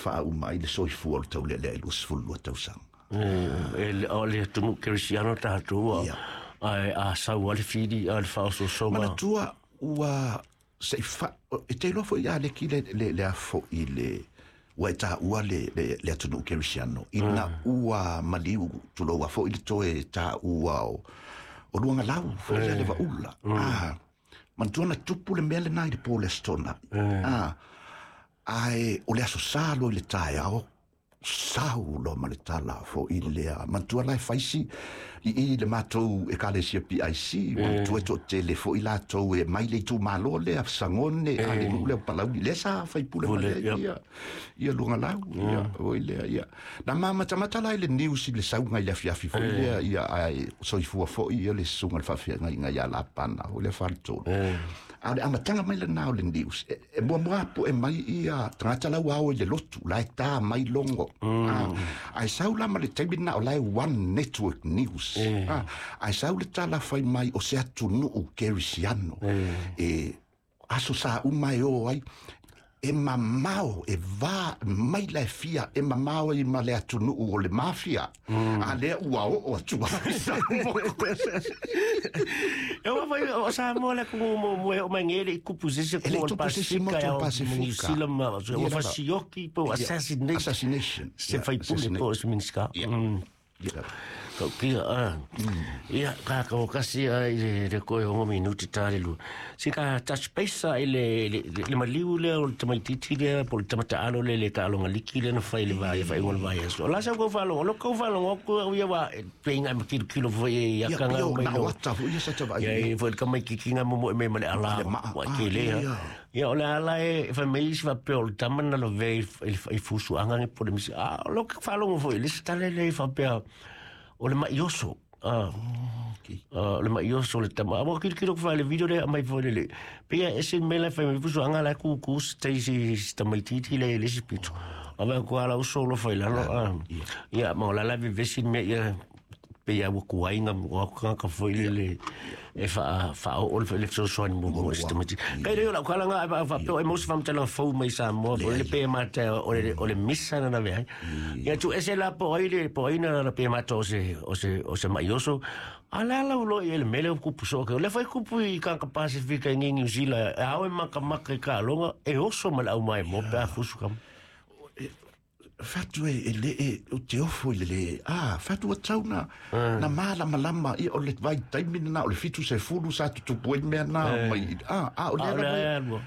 faauma ai le soifua o le taulealea i 22 tausaga. E o le atunuu kerisiano tatou ae a sau lava le fili a le faaosoosoga. Manatua ua se i fa e te iloa foi ia Leki le le le afo'i le ua e taua le le le atunuu kerisiano ina ua maliu tulou a foi le toe taua o o Luagalau foi lea le Vaula. Ah, manatua na tupu le mea lena i le po o le Aso Toonai. Ah, ae o le Aso Sa loa i le taeao sau loa ma le tala foi lea. Manatua la e faisi i i le matou Ekalesia PIC, manatua e toatele foi latou e mai le itumalo lea Sagone a le nuu lea o Palauli lea sa faipule Pule, mai ai yep. ia ia Luagalau ia foi lea ia. Na mamatamata la i le news i le sauga i le afiafi foi lea ia ae soifua foi ia le susuga i le faafeagaiga ia Lapana foi lea faletolu. A o le amataga mai lena o le news, e muamua poe mai ia tagata la ua ao i le lotu, la e tā mai logo. Ah, ae sau la ma le taimi lena o la e One Network News. Ah, ae sau le tala fai mai o se atunuu kerisiano. E aso sa uma e o ai, e mamao, e va mai la e fia, e mamao ai ma le atunuu o le mafia. A lea ua oo atu ai Samoa. E ua fai o Samoa le atunuu muamua e oo mai nei e le i tupu i se isi E le i atunuu o le tupu i se isi Pasefika motu o e le ao ma Niu Pasefika. Sila ma ua Ia lava. fasioki po o Ia, assassinate assassination. se Ia, faipule assassinate. po o se Minisita. Ia. Ia lava. Tautia, a. Ia, ka ka kasi ai le le koe hongo minuti tā le lua. Si ka touch base ai le le le maliu le o le tamaititi le po le tamataalo le le ka alonga liki le na fai le vai fai ngol vai aso. La sa ko falo, lo ko falo ko ia wa pe inga ma kilo kilo foi ia Ia, kanga pio, mai na no. wata foi ia sa te vai. Ia e foi ka mai kikinga mo mo e me ma le ala Le maa, wa ah, ke le. ia. Ia o le ala e fai mai isi faapea o le tama na lavea i fusuaga ge po le misi a o lo faalogo foi le isi tala le faapea o le mai oso a Okay. o le mai oso le tama a ua kilokilo ku le video le aumai foi le le pei e ese le mea la e fai mai fusuaga la e kukū se tai se tamaititi le le isi pito a vae ku ala uso lo fai lalo a ia ma o la la vevesi le mea ia pe ia ua kuaiga ua kagaka foi le le e faa faaoo le fesoasoani muamua i se tamaiti kai le o lau kalaga ai faapea o e mau se faamatalaga fou mai Samoa foi le pe mata o le misa na lavea ai ia tu ese la po ai le po ai na na pe mata o se o se o se maioso a la la ulo i le mele o kupu so ke le fai kupu i ka ka Pasifika i New Zealand e ao e makamaka i ka aloga e oso ma le au mai mo pe a fusu kama. Fatu e e le e o te ofo i le le ah fatu tau na na malamalama ia o le vai taimi na o le 70 sa tutupu ai mea na mai ah ah o le A o le ala ae alua.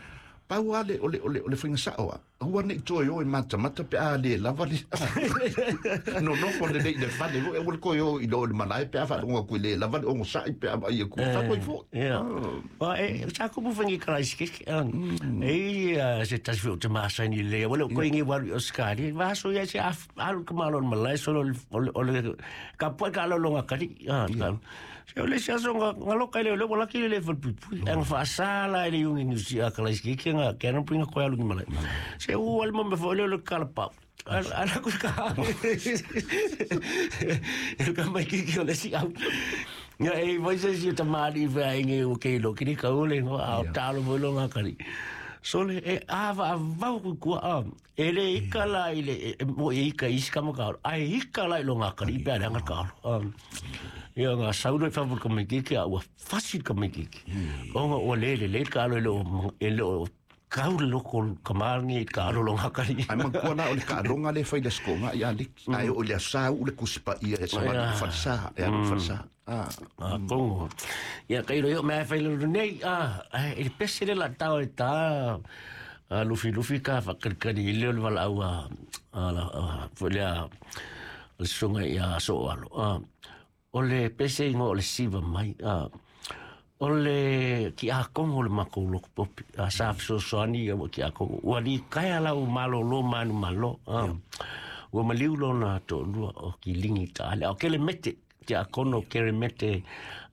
Pau a le o le o le o le faiga sao a aua nei toe o e matamata pe a le lava le no no fo le nei le fale e ua le koe o i lo le malae pe a faalogo atu i le lava le ogosa'i pe a vaai aku fatu ai foi. Ia. Wa e sa kupu whangi karaisi keke. E i se tasi o te masaini le. Wale o koe ngi waru i Oscar. Wa aso ia se alu ka malo malai solo o le ka pua ka alo longa kari. Se o le se aso nga loka ile le wala ki le fal pui. Ang fa sala ile yungi ni si akalaisi keke nga ke ana pinga koe alu ni malai. Se u al mo me fo le le kala pau. Ala ku ka. E ka mai ki ki o le si au. Ia e vai se si ta mari vai nge o ke lo kiri ka ole ngo a talo mo lo ngakari. So le e ava a vau ku ku a e le ika la i le e mo e ika isi ka mo ka ai ika la i lo ngakari pe ala ngaka. Ia nga saulo e favu ka mai ki a ua fasi ka mai ki. O nga o le le le ka lo e lo kau le loko ka marangi ka alo lo ngakari. Ai matua la o le kaaloga le fai le sikoga ia liki ae o le asa u le kusipaia e savali falesa e alu falesa ah. A kongo. Ia kai ro yo me fai le nei a e pese le la tau e ta a lufi lufi ka fa kali le le wala au a la fo le a le songa ia so alo. A o le pese ngo o le siva mai a o le ki a kongo le mako loko popi a sa so soani ia ki a kongo. Ua li kai ala u malo lo manu malo. Ua maliu lo na to lua o ki lingi ta ale. O kele mete te a kono kere mete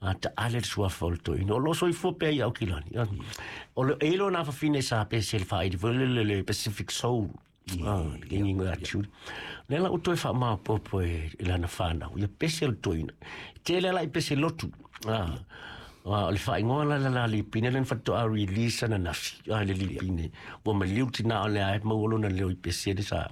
a ta ale sua folto ino. O lo so i fo pea i au kilani. O le eilo na fafine sa pe se le whairi, le le le Pacific Soul. Le ngingo a tūri. Le la uto e wha maopopo e lana whanau. Ia pese le toina. Te le la i pese lotu. O le whaingoa la la la lipine, le whatoa release ana nafi, le lipine. Ua maliu tina o le ae, mauolo na leo i pese le sa.